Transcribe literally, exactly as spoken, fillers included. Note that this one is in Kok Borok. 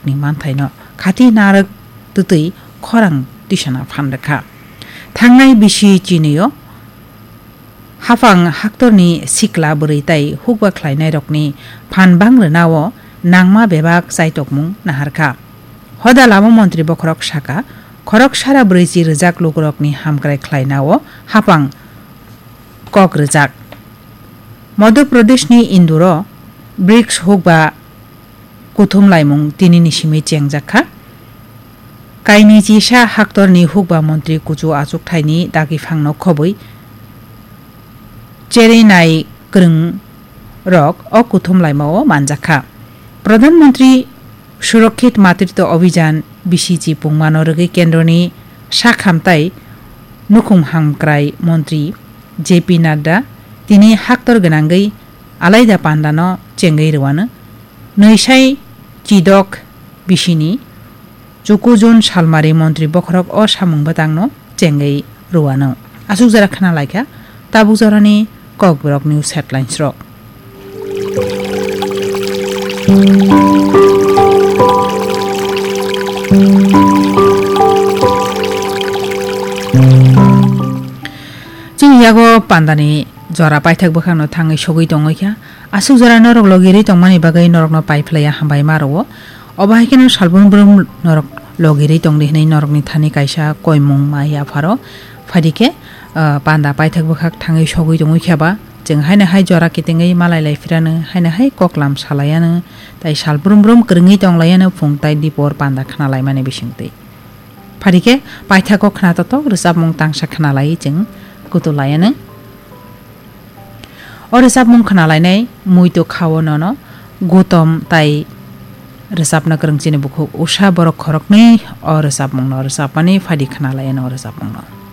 ni manthaino khati narwk twtwi khorang tisana phan rwkha. Thangnai bisi chinio hapang haktorni sikla bwrwi tai hukba khlainairokni phan bang rwnao nangma bebak chaitokmung naharkha. Hoda lama montri bokhorok saka, khorok sara brwichi rwjak lukurokni hamkrai khlainao hapang kok rwjak. Madhya Pradeshni Induro brics hukba kuthum laimung tinini simi chengjak kha. Kainwi chisa haktorni hukba montri kuchu achukthaini dagiphangno khobwi cherwi nai kwrwng rok o kuthum laimao manjak kha. Pradhan Mantri Surakshit Matritwa Abhijan B C G pungmano rwgwi kendroni sakhamtai nukhung hamkrai montri J P Nadda tini haktor gwnangwi alaida pandano chengwi rwano. Nwisai chidok bisini Chukujun salmari montri bokhorok o samung bwtangno chengwi rwano. Aswk jora khna laikha tabuk jorani Kokborok news headlines rok. Chini yago pandani jora paithak bwkhakno thangwi sogwi tongwi kha. Aswk jora norok logirwi tongmani bagwi norokno paiphlaiya hambai ma rwo. Obo hai kheno salbrum brum norok logirwi tongdi hwnwi norokni thani kaisa koimung ma yapharo. Phaidi khe, ah, panda paithak bwkhak thangwi sogwi tongwi khe ba, chwng haino hai jora kitingwi malai lai phirano, haino hai koklam salaiano, tai salbrum brum kwrwngwi tonglaiano phung tai dipor panda khna laimani bisingtwi. Phaidi khe paithak o khna totok rwchapmung tangsa khna lai chwng kutu laiano. O rwchapmung khna lainai muitu khao nono Gutom tai rwchapna kwrwng chini bukhuk Usha borok khoroknwi o rwchapmungno rwchapmani phaidi khna laiano o rwchapmungno.